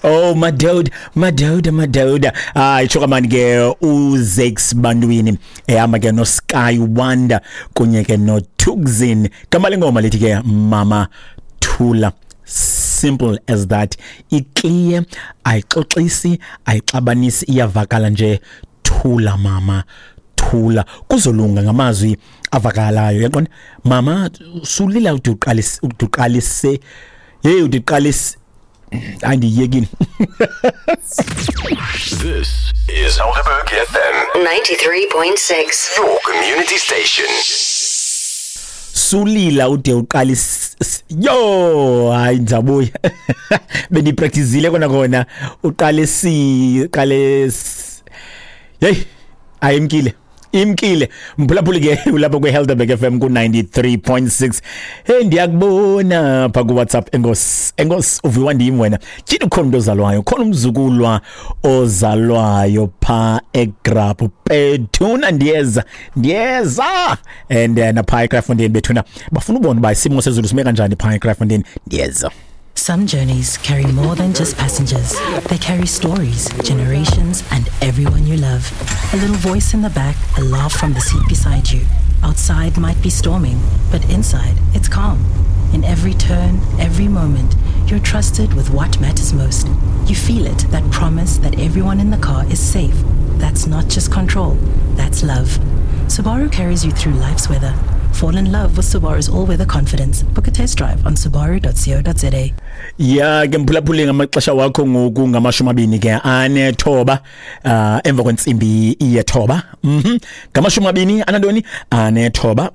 Oh madoda, madoda, madoda. Hayi, tsho kamani ke uZakes Bantwini ehamba ke no Sky Wonder kunye ke no Tugzin. Gama lengoma lithi ke Mama Thula. Simple as that. Iclear, ayixoxisi, ayixabanisi, iyavakala nje. Thula mama, thula, kuzolunga, ngamazwi avakalayo. Yaqonda mama, sulila ude uqalise, ude uqalise, hey, ude uqalise. Andiyekile. This is Helderberg FM 93.6. your community station. Sulila ude uqalise. Yo, hayi, ndizabuya, bendipracticile kona kona. Uqalisi, qale. Hey, ayimkile, imkile mphulaphuli ke, ulapha kwe-Helderberg FM ku-93.6. Hey, ndiyakubona pha kuWhatsApp. Enkosi, enkosi, uviwa ndim wena. Tyhini, ukhona umntu ozalwayo, khona umzukulwa ozalwayo pha eGrabhu bethuna. Ndiyeza, ndiyeza. And napha eKraaifontein bethuna, bafuna ubona uba isimo sezulu sime kanjani pha eKraaifontein. Ndiyeza. Some journeys carry more than just passengers. They carry stories, generations, and everyone you love. A little voice in the back, a laugh from the seat beside you. Outside might be storming, but inside it's calm. In every turn, every moment, you're trusted with what matters most. You feel it, that promise that everyone in the car is safe. That's not just control, that's love. Subaru carries you through life's weather. Fall in love with Subaru's all-weather confidence. Book a test drive on subaru.co.za. Ya ke mphulaphuli, ngamaxesha wakho ngoku 29 emva kwentsimbi yethoba. 29 anantoni? 9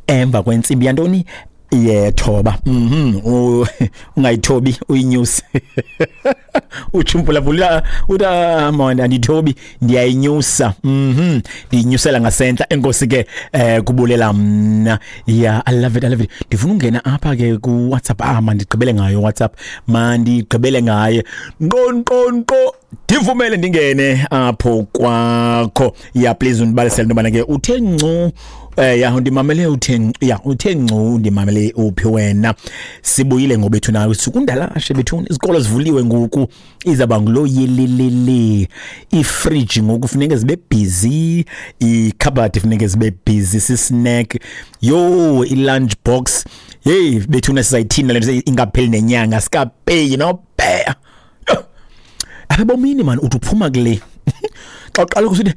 emva kwentsimbi yantoni? Yethoba. Ungayithobi uyinyuse, utsho umphulaphuli uthi man, andithobi, ndiyayinyusa. Ndiyinyusela ngasentla. Enkosi ke, kubulela mna. Yeah, I love it, I love it. Ndifuna ungena apha ke ku WhatsApp. Ah, mandigqibele ngayo WhatsApp, mandigqibele ngaye. Nqo nqo nqo, ndivumele ndingene apho kwakho. Yeah, please undibalisele into yobana ke uthe ncu, ya, undimamele uthe, ya, uthe ncu, undimamele uphi wena. Sibuyile ngobethu nawe sukundalashe bethu. Izikolo zivuliwe ngoku, izaba ngulo yelelele. Ifridge ngoku funeka zibe busy, ikhabhathi funeka zibe busy si-snack, yo, i-lunch box. Hey bethuna, sizayithina le nto ingapheli nenyanga sikapeyi nobheya apha ebomini man. Uthi uphuma kule, xa uqala kusithi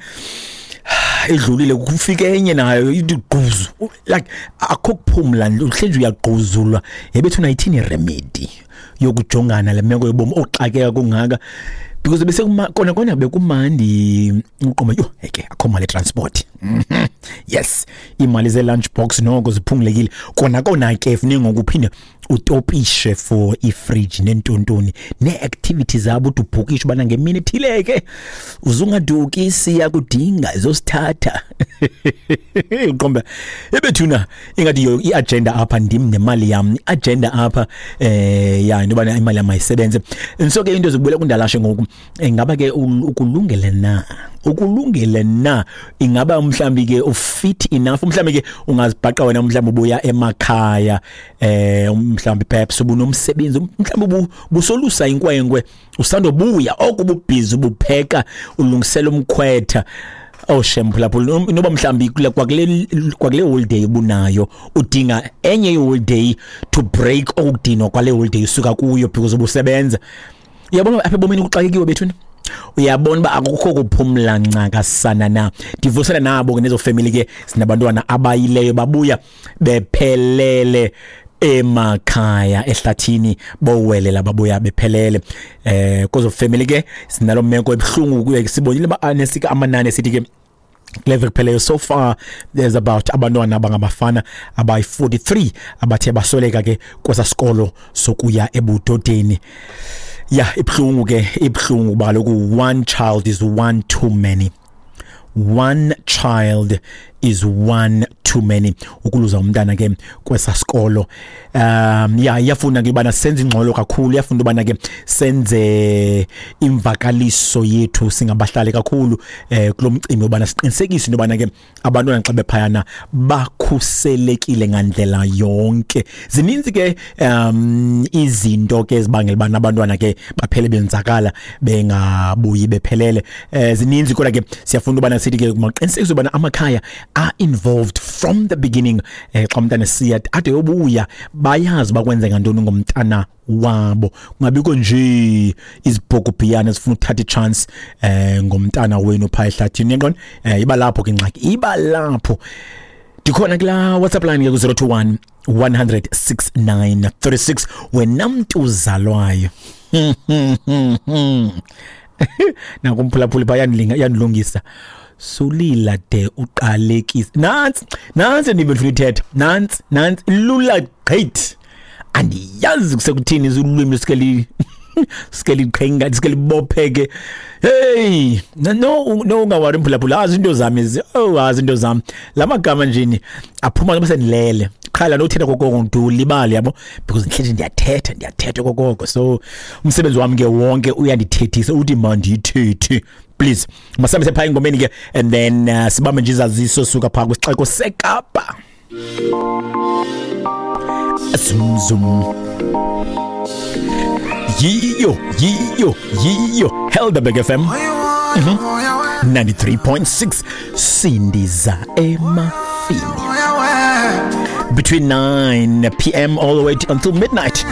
idlulile, kufike enye nayo ithi gquzu, like akho kuphumla, uhleli nje uyagquzulwa. Yebethuna, ithini remedy yokujongana le meko yobomi oxakeka kungaka? Because bese kona kona bekumandi uqoma, yo, eke akho mali transport. Yes, imali ze lunch box noko ziphungulekile. Kona kona ke funeka ngokuphinde utopishe for ifridge nentontoni nee-activities zabo, ude ubhukishe ubana ngemini ethile ke uzungaduki, siyakudinga, izosithatha. Uqomba ebethuna ingathi yo i-agenda apha ndim nemali yam, i-agenda apha ya into yobana imali yam ayisebenze. So ke into zikubuyela kundalashe ngoku, ingaba ke ukulungele na, ukulungele na? Ingaba mhlambi ke ufit enough? Mhlambi ke ungazibhaqa wena, mhlambi ubuya emakhaya, mhlambi perhaps ubunomsebenzi, mhlambi busolusa inkwenkwe, usandobuya oko ububhizi, ubupheka, ulungisela umkhwetha. Oh shem, phulaphula, noba mhlambi kwakule holiday ubunayo, udinga enye holiday to break okudinwa kwale holiday usuka kuyo because ubusebenza. Uyabona apha ebomini kuxakekiwe bethuna, uyabona uba akukho kuphumla ncakasana na. Ndivusela nabo ke nezo family ke sinabantwana abayileyo, babuya bephelele emakhaya ehlathini, bowelela, babuya bephelele. Kozo family ke sinalo meko ebuhlungu kuye. Sibonile ba anesika amanani esithi ke kule veki kupheleyo, so far there's about abantwana abangabafana abayi-43 abathe basweleka ke kwesa sikolo sokuya ebudodeni. Ya, ibuhlungu ke, ibuhlungu kuba kaloku one child is one too many, one child is one too many ukuluza umntana ke kwesa sikolo. Ya, iyafuna ke ubana senze ingxolo kakhulu, iyafuna ubana ke senze imvakaliso yethu singabahlali kakhulu kulo mcimbi ubana siqinisekise into yobana ke abantwana xa bephayana bakhuselekile ngandlela yonke. Zininzi ke izinto ke ezibangela ubana abantwana ke baphele benzakala bengabuyi bephelele. Zininzi, kodwa ke siyafuna ubana sithi ke maqinisekise ubana amakhaya are involved from the beginning. Xa umntana siya ade yobuya, bayazi bakwenzeka ntoni ngomntana wabo, kungabikho nje izibhokobhiyana ezifuna ukuthatha i-chance ngomntana wenu phaa ehlathini, uyaqonda? Iba lapho ke ingxaki, iba lapho. Ndikhona kulaa WhatsApp line ke ku-021 100 6936. Wena mntu uzalwayo, nakumphulaphuli phaa yandilungisa, sulila de uqalekise. Nantsi, nantsi endibe ndifuna uyithetha, nantsi, nantsi lula gqithi. Andiyazi kusekuthini ulwimi sike liqhenga, sike libopheke. Hey, no, no, ungawari mphulaphula, azi into zami ezi. Oh, azi into zami la magama njini aphuma noba sendilele. Qhala nothetha kokoko ndulibale, yabo, because ndihleli ndiyathetha, ndiyathetha kokoko. So umsebenzi wami ke wonke uyandithethisa, uthi mandithethe. Please, masambe sepha engomeni ke and then sibambe nje izaziso suka phaa kwisixeko seKapa. Zoom zoom, yiyo, yiyo, yiyo Helderberg FM 93.6. Sindiza emafini between 9 p.m. all the way until midnight.